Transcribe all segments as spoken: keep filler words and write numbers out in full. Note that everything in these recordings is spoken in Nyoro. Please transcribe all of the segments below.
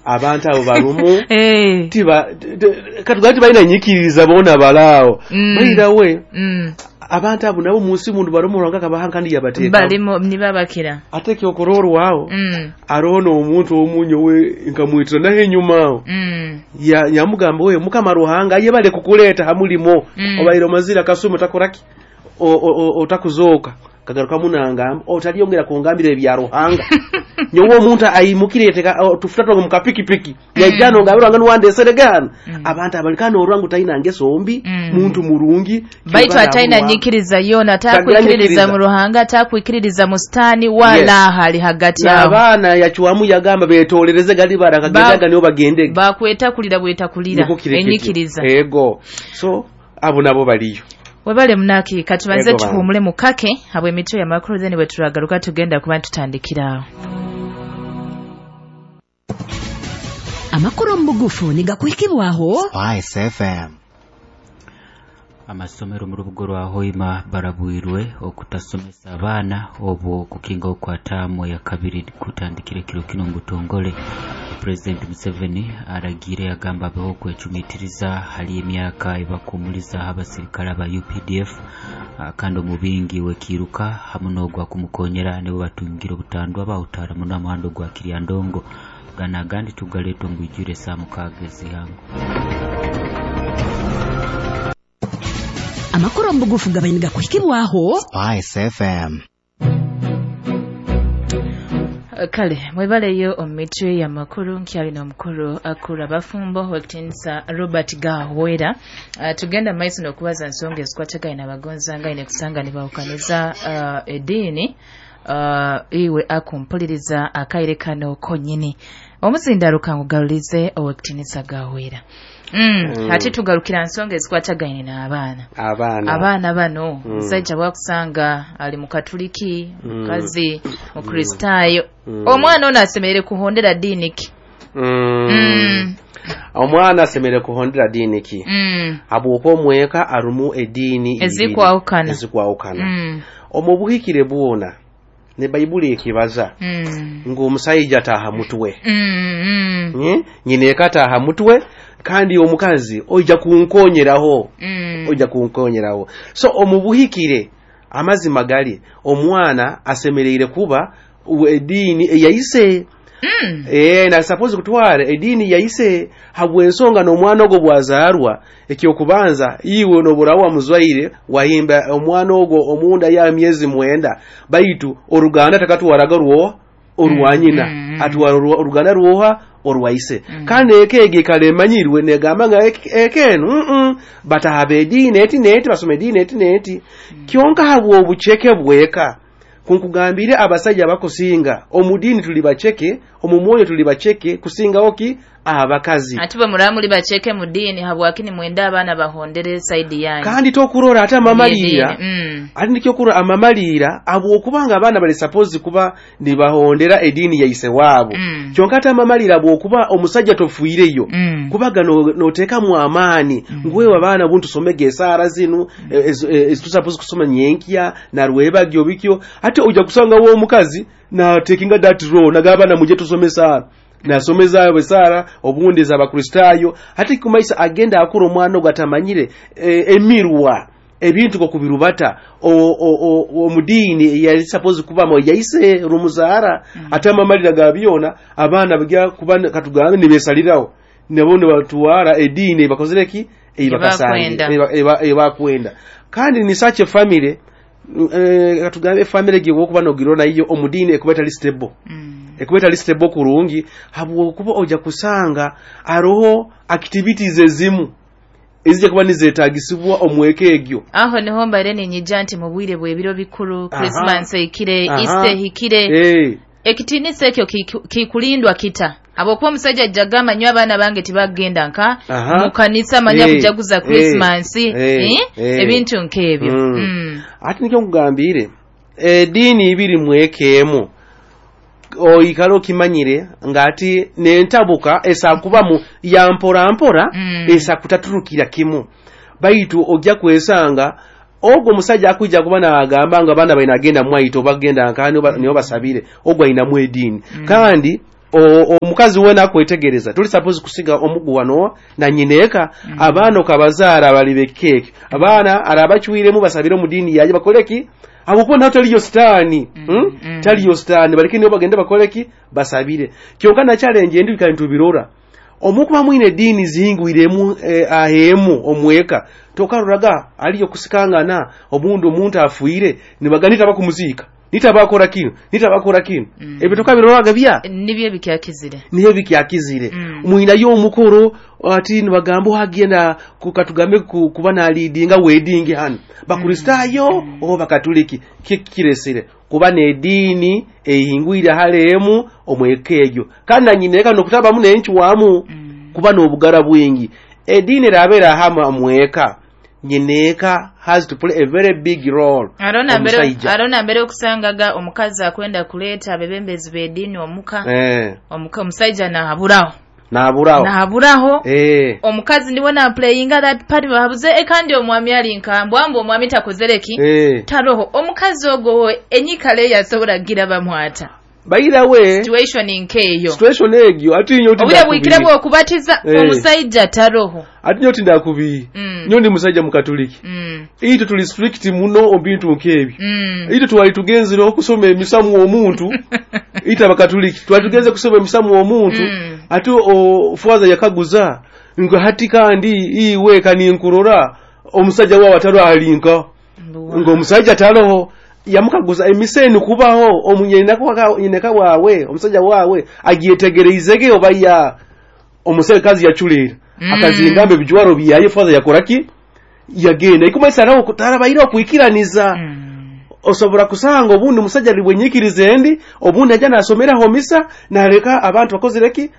Abantu abo barumu. Eh. Tiba katugabe tibalina nyikiriza boona balaawo. Mm. Bairawe Mm. abantu abo nabo munsi mundu barumu, Ruhanga kabaha kandi yabateekamu. Balimu nibabakira. Ate ekyokurorwaho, Mm. aroho n'omuntu omunyo we nkamwitira naho enyuma aho. Mm. Ya- yamugamba, we Mukama Ruhanga ayebale kukuleeta ha mulimo. Mm. Obaire omazire akasumi otakoraki, O- o- o- otakuzooka. Kagarukamu nangamba, otalyongera kungambira ebya Ruhanga. Nyowe omuntu aimukire yateka tufuta twange mu kapikipiki, yajja nongambira Ruhanga niwandeserege hano. Abantu abalikana orwangu talina ngeso mbi. Mm. Muntu murungi. Baitu Kyova ataina namuwa. nyikiriza yona, atakwikiririza Nyikiriza. mu Ruhanga, atakwikiririza mu sitaani wala. Yes. Hali hagati aho. N'abaana yacwamu yagamba betolereze gali barakagendaga nibo bagendege. Bakwetakulira bwetakulira Niko kiri kityo. enyikiriza. Ego, so abo nabo baliyo. Webale munaki, katubanze Ego bana. Tuhuumule mukake habwe emitwe y'amakulu, then bwe turagaruka tugenda kuba tutandikirawo. Amakuru omu bugufu nigakuhikibwaho Spice F M. Amasomero mu rubuga rwa Hoima barabwirwe okutasomesa abaana obwo kukinga okwataamu ya kabiri kutandikira ekiro kino mu butongole. Pulezidenti Museveni aragiire yagamba abeho okwecumitiriza hali emyaka ebakumulizaho abasirikale aba U P D F. ah, kandi omubingi wekiiruka hamu n'ogwa kumukonyera nibo batungire obutandwa bawutara muno amuhanda ogwa Kiryandongo. Gana agandi tugaleeta omu bwijwire saa mukaaga ezihango. Amakuru omu bugufu gabaire nigakuhikibwaho Spice F M. Kale mwebaleyo omu mitwe y'amakuru, nkyalina omukuru akura abafumbo wekitinisa Robert Gahwera. uh, tugenda maiso n'okubaza nsonga ezikwatagaine abagonzangaine kusanga nibawukaniza uh, ediini. uh, iwe akumpuliriza akaire kano konyini, omuzindaruka ngugarulize owekitinisa Gahwera. mm, Mm. Ate tugarukira nsonga ezikwatagaine n'abaana. Abaana. Abaana bano, Mm. omusajja bwakusanga ali mukatuliki, Mm. mukazi mukristaayo, Mm. omwana ono asemerere kuhondera diini ki? Mm. Mm. Omwana asemerere kuhondera diini ki? Mm. Habwokuba omweka arumu ediini ibiri. Ezikwawukana. Ezikwawukana. Mm. Omu buhikire bwona ne Bayibuli ekibaza Mm. ng'omusajja ataaha mutwe. Mm. Mm. Mm? Nyina eka ataaha mutwe, kandi omukazi oija kunkonyeraho. Mm. Ojja kunkonyeraho. So omu buhikire amazima gali omwana asemereire kuba ediini eyaise. Mm. Eh, na suppose kutwara ediini yaise habw'ensonga n'omwana ogwo bwazaarwa, ekyokubanza iwe noburawa wamuzwaire wahimba omwana ogwo omunda ya myezi mwenda, baitu oruganda takatwaraga rwoha orwanyina. Mm, mm. Atwara orwa- oruganda rwoha orwaise. Mm. Kandi eka egi ekala emanyirwe negamba nga ek- eka enu mm batahaba ediini eti neti, basoma ediini eti neti. Kyonka habw'obuceke bweka kunkugambire, abasajja bakusinga omu diini tuli baceke, omu mwoyo tuli baceke kusingaho ki abakazi. Ate bwe muraba muli baceke mu diini, habwaki nimwenda abaana bahondere saidi yanyu? Kandi tokurora ate amamaliira. Mm. Ate nikyokurora amamaliira, habwokubanga abaana bali suppose kuba nibahondera ediini yaise waabo. Mm. Kyonka ate amamaliira, bwokuba omusajja tofuireyo, Mm. kubaga no- noteekamu amaani ngwewe abaana buntu tusomege esaara zinu ezitusapozi kusoma nyenkya narwebagyo bikyo. Ate ojja kusangawo omukazi natekinga that role, nagamba abaana muje tusome esaara, nasomeza esaara obundi ez'abakristaayo. Ate kumaisa agenda akura omwana ogwo atamanyire eh, emirwa ebintu kokubirubata omudiini eyali suppose kubamu yaise rumuzaara. Ate amamalira ga byona abaana bajja kuba katugambe nibesalirawo nabo nibatwara ediini ebakozere ki Ebakwenda. ebakwenda. Kandi ni such a family, eh, katugambe family gyewokuba nogirona iyo omudiini ekuba etali stable. Mm. Ekuba etali stable kurungi, habwokuba ojja kusanga aroho activities ezimu ezijja kuba nizetagisibwa omweka egyo. Aho niho mbaire ninyija nti mu bwire bw'ebiro bikuru, Aha. Christmas ehikire, Aha. Easter ehikire, Eh. ekitiinisa ekyo kiku- kikulindwa kita? Habwokuba omusajja ajja gamba nyo abaana bange tibagenda nka Aha. mu kanisa manya Eh, kujaguza eh, Christmas, eh, eh? eh. Ebintu nk'ebyo. Mm. Mm. Ate nikyo nkugambire ediini ibiri mweka emu oikale okimanyire ng'ati nentabuka esakubamu ya mpora mpora. Mm. Esa kutaturukira kimu, baitu ojja kwesanga ogwo omusajja akwijja kuba nagamba nga abaana baina agenda mwaito bagenda nkani oba- nibo basabire ogwo ayinamu ediini. Mm. Kandi Omukazi wena akwetegereza tuli suppose kusiga omuguwano na nyineka mm. Abaana okabazaara bali bekeke abaana arabachwiremu basabire mu dini yaje bakoleki abo na taliyo sitani mm, hmm? mm. Taliyo sitani baleke niyo bagende bakoleki basabire kyonka na challenge endi kantu birora omukuba mwine dini zihingwiremu eh, ahemu omweka tokaruraga aliyo kusikangana omundu omuntu afuire nibaganita bakumuzika nitabakora kino nitabakora kino mm. Ebyo tokabiroraga bya nibyo bikyakizire nibyo bikyakizire mm. Mwina yo omukoro ati nibagambo hagenda kukatugambe kuba na leadinga wedding hano bakristayo mm. oba bakatoliki kikiresire kuba ne dini ehingwira halemu omwekejo kandi nyineka nokutaba mune enchwamu mm. Kuba n'obugara bwingi edini rabera hama mweka nyineka has to play a very big role. Arona mbere arona mbere okusangaga omukazi akwenda kuleta abebembezi b'edini omuka eh. Omuka omusajja nahaburaho nahaburaho nahaburaho eh. Omukazi ndiwe na playinga that part bahabuze e kandi omwami ali nkambwa ambo omwami takozereki eh. Taroho omukazi ogo enyikale yasobora gira bamwata Baira we situation inkeyo situation egyo ati nyo tinda obwire bwo kubatiza eh. Omusajja taroho ati nyo tinda kubi mm. Nyo ndi musajja mukatoliki mm. Ito tuli strict muno obintu nkebi mm. Ito twali tugenzire okusoma emisamu omuntu ita bakatoliki twali tugenze kusoma emisamu omuntu mm. Ati o fwaza yakaguza ngo hati kandi iwe kaninkurora omusajja wa wataro alinka ngo omusajja taroho yamukaguza emiseni kubaho omunyenaka nyineka wawe omusajja wawe agyetegereizege obaya omusekazi yachulira mm. Akazingambe bijwaro byaye faza yakoraki yagenda ikumasa nawo kutarabaira okuikiraniza mm. Osobora kusanga obundi musajja libwenyikirize endi obundi ajana asomera homisa naleka abantu bakozereki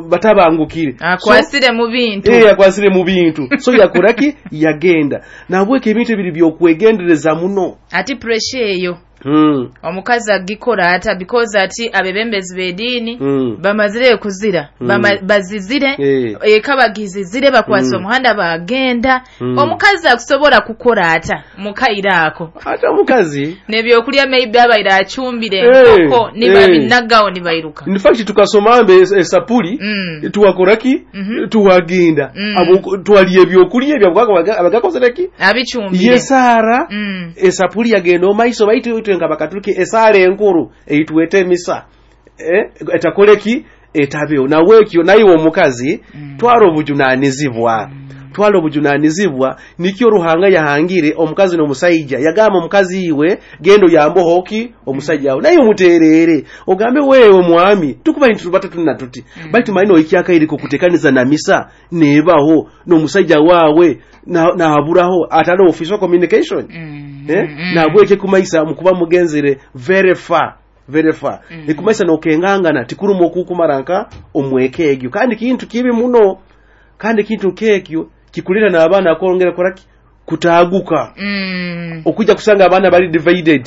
batabangukire akwasire so, mu bintu eh akwasire mu bintu so yakoraki yagenda nabweke ebintu ebiri byokwegendereza muno ati pressure eyo mm. Omukazi agikora ata because ati abebembezi b'edini mm. bamazire kuzira mm. Bama, bazizire eh. Eka bagizizire bakwasa Mm. omuhanda bagenda Mm. Omukazi akusobora kukora ata mukaira ako ate omukazi nebyokulya maybe abaira achumbire Eh, enkoko nibabinagawo eh. nibairuka In fact tukasoma mbe esapuli Mm. tuwakoraki Mhm. tuwagenda Mm. abo twaliye ebyokulya ebyabwaga abagakozereki abichumbire ye Sara Mm. esapuli yagenda omaiso baitu itwe nga bakatuliki esala enkuru eitwete emisa eh, etakoleki etabeo nawekyo naye omukazi Mm. twala obujunanizibwa Mm. twala obujunanizibwa nikyo Ruhanga yahangire omukazi n'omusajja yagamba omukazi iwe gendo yambo hoki omusajja awo naye omuterere ogambe wewe mwami tukuba nti tubata tuna tuti Mm. baitu maino ikyakairiko kutekaniza na misa nebaho n'omusajja wawe na nahaburaho atalo official communication Mm. eh Mm. nabweke kumaisa mukuba mugenzere very far very far Mm. ekumaisa nokengangana tikuruma okukumaranka omweke egyo kandi kintu kibi muno kandi kintu kekyo kikulira n'abaana akwongera koraki kutaguka Mm. okujja kusanga abaana bali divided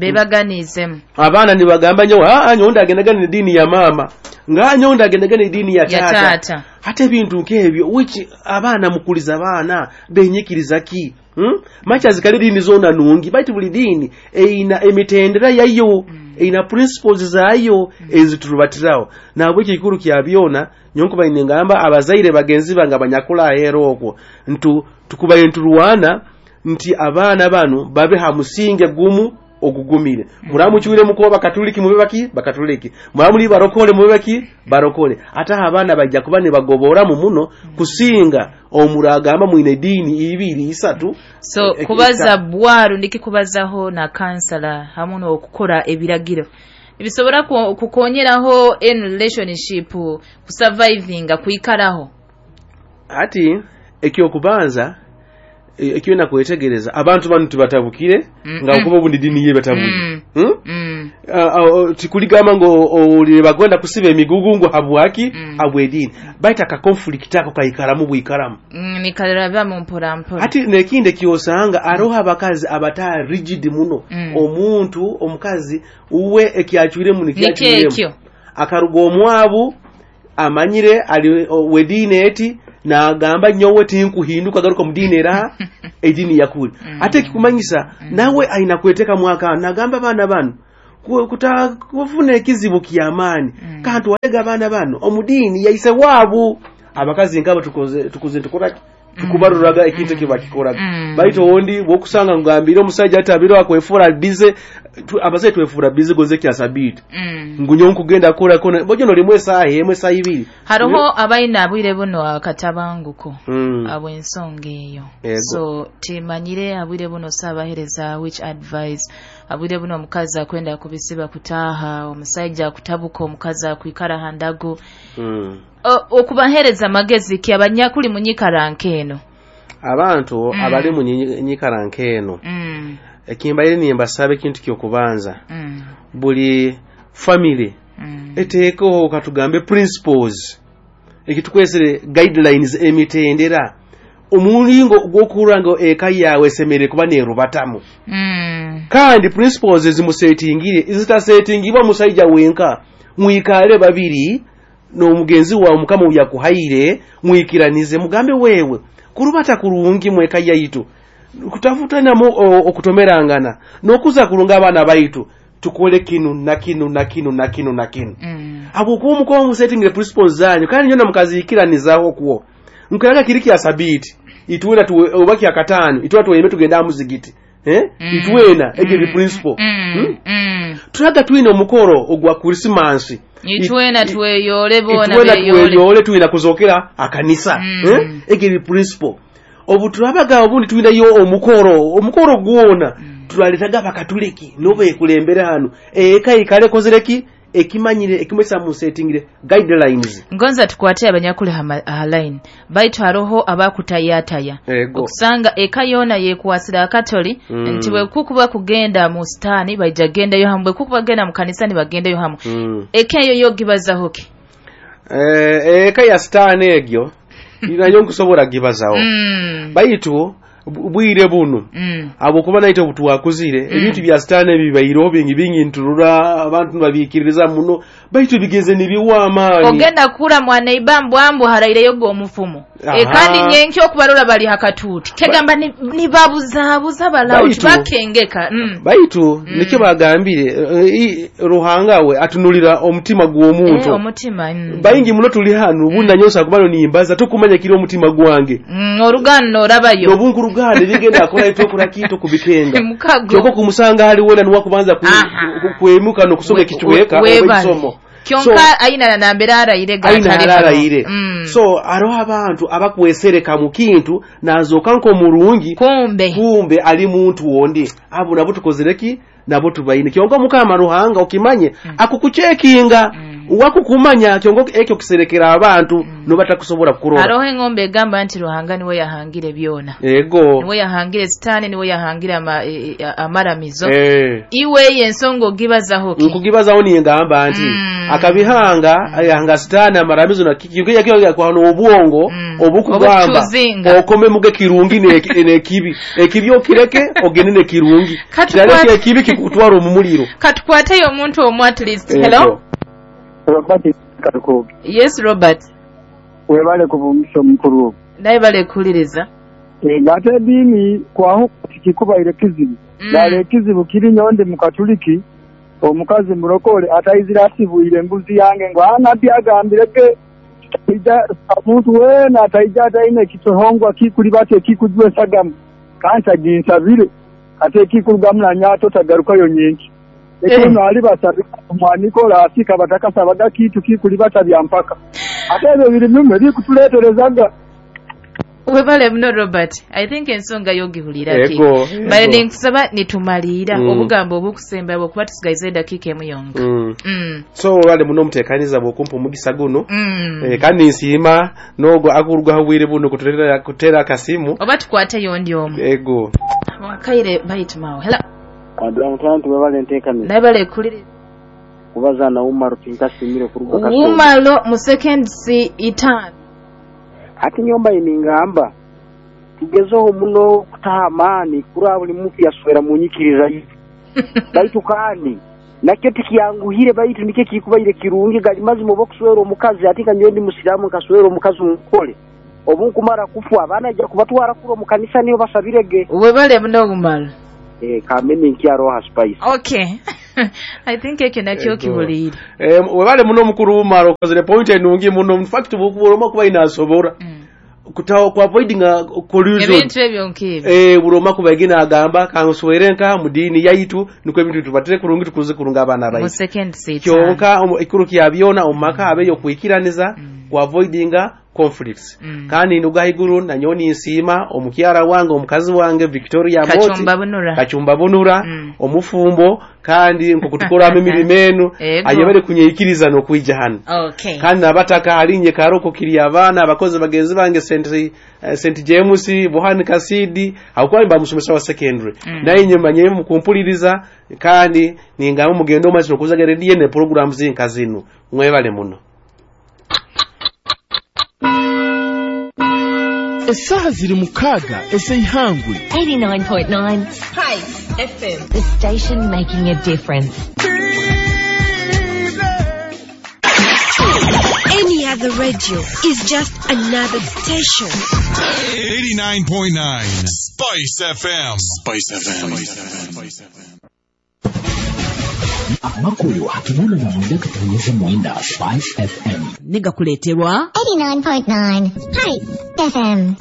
Bebaganizemu abaana nibagamba nyo aa nyo ndagendagana n'eddiini ya maama nga nyo ndagendagana n'eddiini ya ya taata taata ate ebintu nk'ebyo which abaana mukuliza abaana benyikiriza ki hmm? Machazi kali dini zona nungi baitu buli dini eina emitendera yayo Mm. eina principles zayo Mm. eziturubatirawo nabwekyo ekikuru kya byona nyonkuba ningamba abazaire bagenzi bange abanyakula ahera okwo ntu tukubaye nturwana nti abaana bano babe ha musinge gumu ogugumire muramuchwire mukuba bakatuliki mube baki bakatuliki muramuli barokole mube baki barokole ate abaana bajja kuba ne bagoboramu muno kusinga omuragamba mwine dini ibiri isatu so E- e- kubaza bwaru ndikikubazaho na kansala hamu n'okukora ebiragiro bisobora ku- kukonyeraho in relationship kusurvivinga kuikaraho ati ekyokubanza e- ekyo nakwetegereza abantu bano tibatabukire Mm-mm. nga okuba obundi dini ye batabukire Mm. hmm? Mm. Ah, ah, tikuligamba ngo owulire bagwenda kusiba emigugu ngo habwaki Mm. habwedini baita ka conflict ako kaikaramu bwikaramu Mm, nikarabamo mpora mpora ati nekindi ekyosanga aroho abakazi abata rigid muno Mm. omuntu omukazi uwe ekyachwiremu nikyachwiremu nikekyo akaruga omwabu amanyire ali o- wediini eti nagamba nyowe tinkuhinduka garuka mu diini era ediini yakuli Mm. ate ekikumanyisa Mm. nawe aina kweteka mwaka nagamba abaana bano Kuta kufuna ekizibu kyamaani. Mm. Kandi walega abaana bano omudiini yaise waabu abakazi nkabo tukoze tukuze tukora tukubaruraga ekintu mm. kibakikoraga. Mm. Baitu ondi bwokusanga ngambire omusajja atabiro akwefura bize tu, abasajja twefura bize goze kya sabiti. Mm. Ngunyo nkugenda kora kona bojo nolimu esaha emwe esaha ibiri. Haroho abaina abwire buno akatabanguko. Mm. Abo ensonga eyo. Ego. So timanyire abwire buno sabahereza which advice abwire buno omukazi akwenda kubisiba kutaha omusajja akutabuka omukazi akwikara handago. Mm. Okubahereza amagezi ki abanyakuli munyikara nkeno. Abantu Mm. abali mu nyikara nkeno. Mm. Ekimbaire nimbasabe ekintu kyokubanza. Mm. Buli family Mm. eteekeho katugambe principles ekitukwesere guidelines emitendera omulingo gw'okuhurra ngu eka yawe esemere kuba nerubatamu. Mm. Kandi principles ezimusetingire zitasetingibwa musajja wenka mwikale babiri n'omugenzi wawe mukama yakuhaire mwikiranize mugambe wewe kurubata kurungi mweka yaitu kutafutanamu okutomerangana n'okuza kurunga abaana baitu tukole kinu na kinu na kinu na kinu na kinu. Mm. Abo kuba mukuba musetingire principles zanyu kandi nyona mukazikiranizaho okwo nkiraga kiri kya sabiti itwena tuwe oba kya katano itwena tuweme tugenda muzigiti eh Mm. itwena egyo Mm. principle. Mm. Hmm? Mm. Turaga twine omukoro ogwa Christmas itwena tweyole bona itwena beyole tweyole twina kuzokera akanisa. Mm. Eh egyo principle obu turabaga obundi twinayo omukoro omukoro gwona. Mm. Turaletaga bakatuliki nobe kulembera hano eka ikale kozereki ekimanyire ekimwesa musetingire guidelines. Ngonza tukwate abanyakuli ha line baitu haroho abakutayataya Ego. Okusanga eka yona yekuwasira akatoli. Mm. Nti bwe kukuba kugenda mu stani baija gendayo hamwe kukuba genda mu kanisa ni bagendayo hamwe. Mm. Eka eyo yogibazaho ki? Eh eka ya stani egyo inayo nkusobola gibazaho. Mm. Baitu bwire buno. Mm. Abo kuba naite obutuwakuzire Mm. ebintu bya stani bibairo bingi bingi nturura abantu babikiririza muno baitu bigeze nibiwa amaani. Ogenda kura mwana ibambwambu haraireyo go omufumo. Aha. E kandi nyenkyo okubarora bali hakatuti kegamba ni, ni babuzabuza balao Baitu- bakengeka. Mm. Baitu Mm. nikyo bagambire e, Ruhanga we atunulira omutima gw'omuntu. Eh, omutima. Mm. Baingi muno tuli hano ubu nanyosa kubano nimbaza tukumanya kiri omutima gwange. Mm, orugano orabayo. Obunkuruganda bigenda akora itokora kito kubikenga. Mukago. Kyoko kumusanga hali wena nuwa kubanza ku, Aha. ku, kwemuka nokusoma ekichweka We- oba webale. ekisomo. Kyonka So, aina na nambera arayire aina gatali ararayire. Mm. So aroho abantu abakwesereka mu kintu nazoka nko murungi kumbe kumbe ali muntu wondi abo nabo tukozereki nabo tubaine kyonka mukama Ruhanga okimanye Mm. akukuchekinga Mm. wakukumanya kyonka ekyo kiserekera abantu Mm. nobatakusobola kurora. Haroho engombe egamba nti Ruhanga niwe yahangire byona. Ego. Niwe yahangire sitani niwe yahangire ama, e, e, amaramizo. Eh. Iwe ensonga ogibazaho ki? Nkugibazaho niyengamba nti Mm. akabihanga ayahanga sitani amaramizo na kiki kyo kwa obwongo Mm. obukugamba Obukutuzinga. okome muge kirungi ne nekibi ekibi okireke ogende ne kirungi Katukwate- kireke ekibi kikutwara omumuliro. Katukwate omuntu omu at least. Ego. Hello. Robert Karukobe. Yes Robert. Webale kuvumisha omukuru. Naye bale kuliriza. E, ngate eddiini kwaho kikubaire kizibu. Mm. Dala ekizibu kiri nyonde mu Katoliki omukazi mulokole atayizira asibwire embuzi yange ngo anabbi agambirege ija omuntu weena ataija ataine ekitohongwa kikulibata ekikujwa esagamu kandi aginsabire ate ekikurugamu nanyato tagarukayo nyenki. Ekono ali basabira omwanikola asika batakasabaga kitu kikulibata bya mpaka ate ebyo biri bimwe bikutuleeterezaga. Webale muno Robert. I think ensonga yogihulira ki. Ego. Bale Ego. ninkusaba nitumalira Mm. obugambo obukusemba bwokuba tusigaize eddakiika emu yonka. Mm. Mm. So wale muno mutekaniza bwokumpa omugisa guno. Mm. Eh, kandi nsiima n'ogwo akurugaho bwire buno kutera kutera akasimu. Oba tukwateyo ndi omu. Ego. Wakaire baitumawo. Hello. Wadula webale nteekaniza Naye bale kuliriza. kubaza na Umaro tinkasimire kuruga Kasongo. Umalo mu seconds itaano. Ati nyomba iningamba tugezeho muno kutaha amaani kura buli muntu yaswera mu nyikiriza ye baitu kandi nakyo tikiyanguhire baitu nikyo kikubaire kirungi gali mazima oba okuswera omukazi ati nga nyowe ndi musiraamu nkaswera omukazi omukole obu nkumara kufa abaana ajja kubatwara kura omu kanisa niyo basabirege. Webale muno Umalo. Eh, kamene nkyaroha spice. Okay. I think ekyo nakyo kibuliire. Eh, webale muno mukuru Umar, okozere point enungi muno. In fact buloma kuba inasobora Mm. kutawa ku avoiding a collusion Ebintu ebyo nk'ebyo. Eh, buloma kuba egina agamba kanswere nka mu dini yaitu niko ebintu tubatire kurungi tukuze kurunga abaana Mu baitu. second seat. Kyonka omu- ekikuru kya byona omu maka abeyo kwikiraniza, ku avoidinga conflicts. Mm. Kandi nduga haiguru nanyo ninsiima omukyara wange, omukazi wange Victoria Moti Kachumba Bunura. Kachumba Bunura, Mm. omufumbo, kandi nkokutukoramu emirimo enu Ego. ayebere kunyeikiriza n'okwija hano. Okay. Kandi nabataka halinye karoko kiri abaana abakozi bagenzi bange Saint eh, Saint James Buhani Kasidi aho bamusomesa wa secondary. Mm. Naye nyuma nye mukumpuliriza kandi ningamba mugendo omazino okuzaga radio ne programs zinka zino. Mwebale muno. Esaha ziri mukaaga ez'eihangwe. eighty-nine point nine Spice F M. The station making a difference. Any other radio is just another station. eighty-nine point nine Spice F M. Spice F M. Spice F M. Amakuru hakinana na mwenda katonyeze mwenda Spice F M. Nigakuleterwa eighty-nine point nine Spice F M.